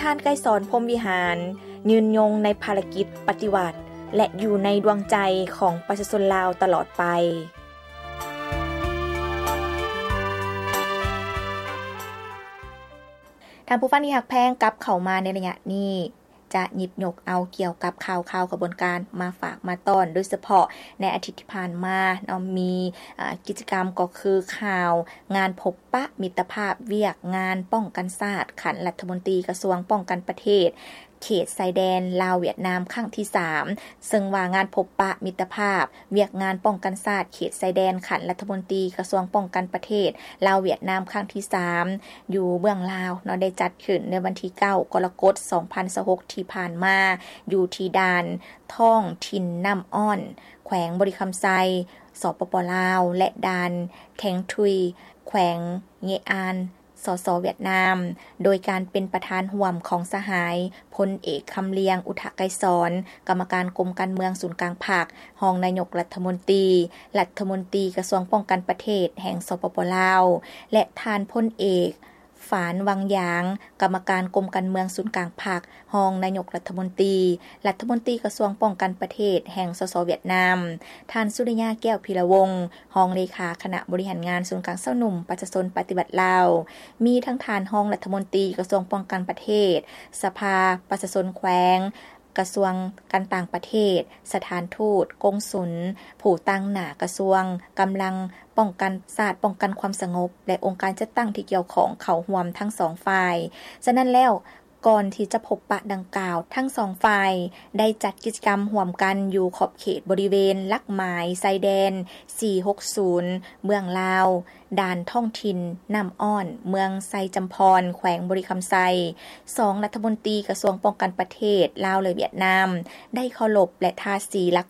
ທ່ານ ໄກສອນ ພົມວິຫານ ຍືນຍົງໃນພາລະກິດປະຕິວັດ ແລະ ຢູ່ໃນດວງໃຈຂອງປະຊາຊົນລາວຕະຫຼອດໄປ. ທ່ານຜູ້ຟັງທີ່ຮັກແພງ, ກັບເຂົ້າມາໃນໄລຍະນີ້ ຈະຫຍິບຍົກເອົາກ່ຽວກັບຂ່າວຄາວຂະບວນການມາຝາກມາຕ້ອນ, ໂດຍສະເພາະໃນອາທິດທີ່ຜ່ານມາເນາະ ມີ ອາ ກິດຈະກຳກໍຄືຂ່າວງານພົບປະມິດຕະພາບວຽກງານປ້ອງກັນຊາດຂັ້ນລັດຖະມົນຕີກະຊວງປ້ອງກັນປະເທດ ເຂດຊາຍແດນລາວຫວຽດນາມຄັ້ງທີສາມ ເຊິ່ງວ່າງານພົບປະມິດຕະພາບວຽກງານປ້ອງກັນຊາດເຂດຊາຍແດນຂັ້ນລັດຖະມົນຕີກະຊວງປ້ອງກັນປະເທດລາວຫວຽດນາມຄັ້ງທີສາມ ຢູ່ເບື້ອງລາວເນາະ ໄດ້ຈັດຂຶ້ນໃນວັນທີເກົ້າ ກໍລະກົດ ສອງພັນຊາວຫົກ ທີ່ຜ່ານມາ ຢູ່ທີ່ດ່ານທ້ອງຖິ່ນນ້ຳອ້ອນ ແຂວງບໍລິຄຳໄຊ ສປປ ລາວ ແລະ ດ່ານແທງທຸຍ ແຂວງເງອານ ສສ ຫວຽດນາມ ໂດຍການເປັນປະທານຮ່ວມຂອງສະຫາຍ ພົນເອກ ຄຳລຽງ ອຸທະໄກສອນ ກຳມະການກົມການເມືອງສູນກາງພັກ, ຮອງນາຍົກລັດຖະມົນຕີ, ລັດຖະມົນຕີກະຊວງປ້ອງກັນປະເທດແຫ່ງ ສປປ ລາວ ແລະ ທ່ານ ພົນເອກ ຝານ ວັງຢາງ ກຳມະການກົມການເມືອງສູນກາງພັກ, ຮອງນາຍົກລັດຖະມົນຕີ, ລັດຖະມົນຕີກະຊວງປ້ອງກັນປະເທດແຫ່ງ ສສ ຫວຽດນາມ, ທ່ານ ສຸລິຍາ ແກ້ວພິລະວົງ ຮອງເລຂາຄະນະບໍລິຫານງານສູນກາງຊາວໜຸ່ມປະຊາຊົນປະຕິວັດລາວ, ມີທັງທ່ານຮອງລັດຖະມົນຕີກະຊວງປ້ອງກັນປະເທດ, ສະພາປະຊາຊົນແຂວງ, ກະຊວງການຕ່າງປະເທດ, ສະຖານທູດ, ກົງສຸນ, ຜູ້ຕາງໜ້າກະຊວງ, ກຳລັງປ້ອງກັນຊາດ, ປ້ອງກັນຄວາມສະຫງົບ ແລະ ອົງການຈັດຕັ້ງທີ່ກ່ຽວຂ້ອງເຂົ້າຮ່ວມທັງສອງຝ່າຍ. ສະນັ້ນແລ້ວ, ກ່ອນທີ່ຈະພົບປະດັ່ງກ່າວ, ທັງສອງຝ່າຍໄດ້ຈັດກິດຈະກຳຮ່ວມກັນຢູ່ຂອບເຂດບໍລິເວນຫຼັກໝາຍຊາຍແດນ ສີ່ຫົກສູນ ເບື້ອງລາວ, ດ່ານທ້ອງຖິ່ນນ້ຳອ້ອນ ເມືອງໄຊຈຳພອນ ແຂວງບໍລິຄຳໄຊ. ສອງລັດຖະມົນຕີກະຊວງປ້ອງກັນປະເທດລາວ ແລະ ຫວຽດນາມ ໄດ້ເຄົາລົບ ແລະ ທາສີຫຼັກ